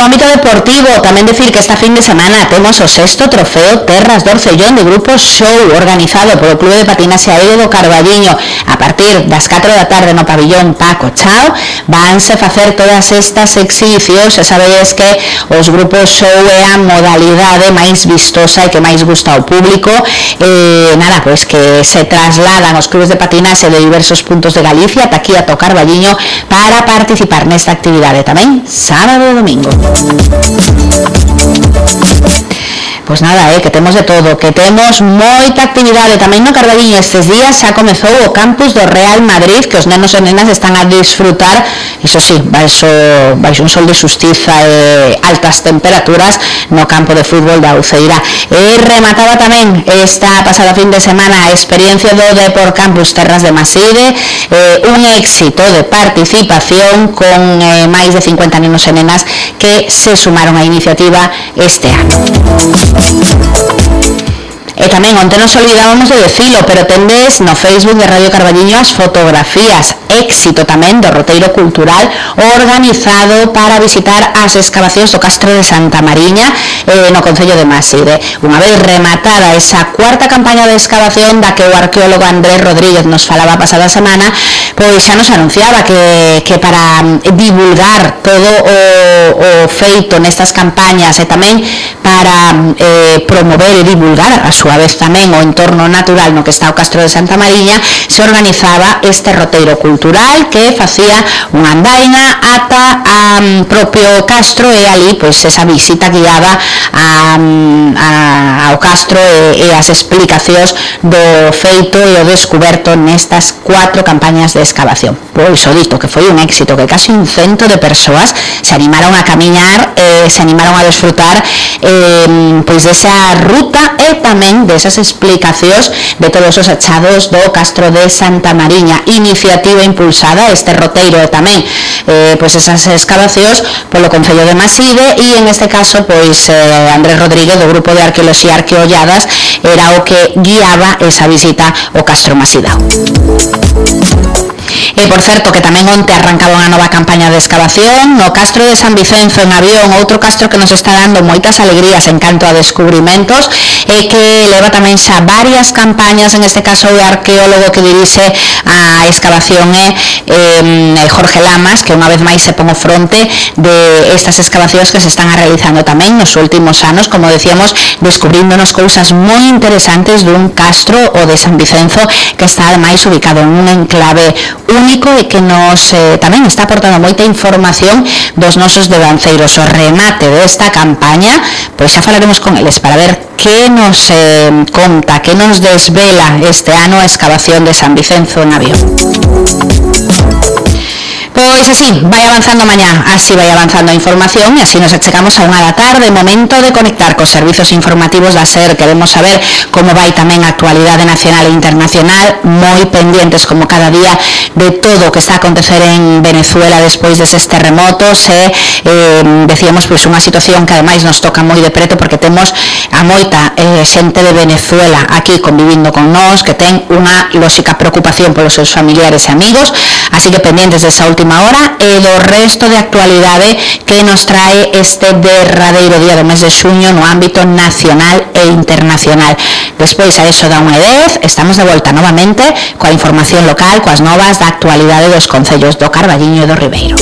no ámbito deportivo, tamén decir que esta fin de semana temos o 6º trofeo Terras do Orcellón de Grupo Show, organizado polo Clube de Patinaxe Aéreo do Carballiño. A partir das 4 da tarde no pabillón Paco Chao vanse facer todas estas exhibicións. Xa sabedes que os grupos show é a modalidade máis vistosa e que máis gusta ao público. Nada, pois que se trasladan os clubes de patinaxe de diversos puntos de Galicia ata aquí ata o Carballiño para participar nesta actividade tamén sábado e domingo. Pois nada, que temos de todo, que temos moita actividade tamén no Carballiño. Estes días xa comezou o campus do Real Madrid, que os nenos e nenas están a disfrutar, iso sí, baixo un sol de xustiza e altas temperaturas no campo de fútbol da Uceira. E remataba tamén esta pasada fin de semana a experiencia do Depor Campus Terras de Maside, un éxito de participación con máis de 50 nenos e nenas que se sumaron á iniciativa este ano. E tamén onte nos olvidábamos de decilo, pero tendes no Facebook de Radio Carballiño as fotografías, éxito tamén do roteiro cultural organizado para visitar as excavacións do Castro de Santa Mariña no concello de Maside. Unha vez rematada esa cuarta campaña de excavación da que o arqueólogo Andrés Rodríguez nos falaba a pasada semana, pois xa nos anunciaba que para divulgar todo o feito nestas campañas e tamén para promover e divulgar a súa vez tamén o entorno natural no que está o Castro de Santa Mariña, se organizaba este roteiro cultural que facía unha andaina ata propio Castro e ali pois esa visita guiada ao Castro e as explicacións do feito e o descuberto nestas 4 campañas de excavación. Pois o dito que foi un éxito, que casi un 100 de persoas se animaron a camiñar, se animaron a desfrutar pois desa ruta e tamén desas explicacións de todos os achados do Castro de Santa Mariña, iniciativa impulsada este roteiro e tamén pois esas excavacións polo concello de Maside, e en este caso pois Andrés Rodríguez do grupo de Arqueoloxía Arqueolladas era o que guiaba esa visita ao Castro Masidao. E por certo que tamén onte arrancaba unha nova campaña de excavación no Castro de San Vicenzo en Avión, outro castro que nos está dando moitas alegrías en canto a descubrimentos e que leva tamén xa varias campañas. En este caso o arqueólogo que dirixe a excavación é Jorge Lamas, que unha vez máis se pon ao fronte de estas excavacións que se están realizando tamén nos últimos anos, como decíamos, descubríndonos cousas moi interesantes dun castro, o de San Vicenzo, que está ademais ubicado en un enclave único e que nos tamén está aportando moita información dos nosos devanceiros. O remate desta campaña, pois xa falaremos con eles para ver que nos conta, que nos desvela este ano a excavación de San Vicenzo en Avión. Pois así, vai avanzando mañá, así vai avanzando a información e así nos achegamos a 1 da tarde, momento de conectar cos servizos informativos da SER. Queremos saber como vai tamén a actualidade nacional e internacional, moi pendientes como cada día de todo o que está a acontecer en Venezuela despois deses terremotos e decíamos pois unha situación que ademais nos toca moi de preto porque temos a moita xente de Venezuela aquí convivindo con nós que ten unha lóxica preocupación polos seus familiares e amigos, así que pendientes desa última hora e do resto de actualidade que nos trae este derradeiro día do mes de xuño no ámbito nacional e internacional. Despois a eso da 1:10 estamos de volta novamente coa información local, coas novas da actualidade dos concellos do Carballiño e do Ribeiro.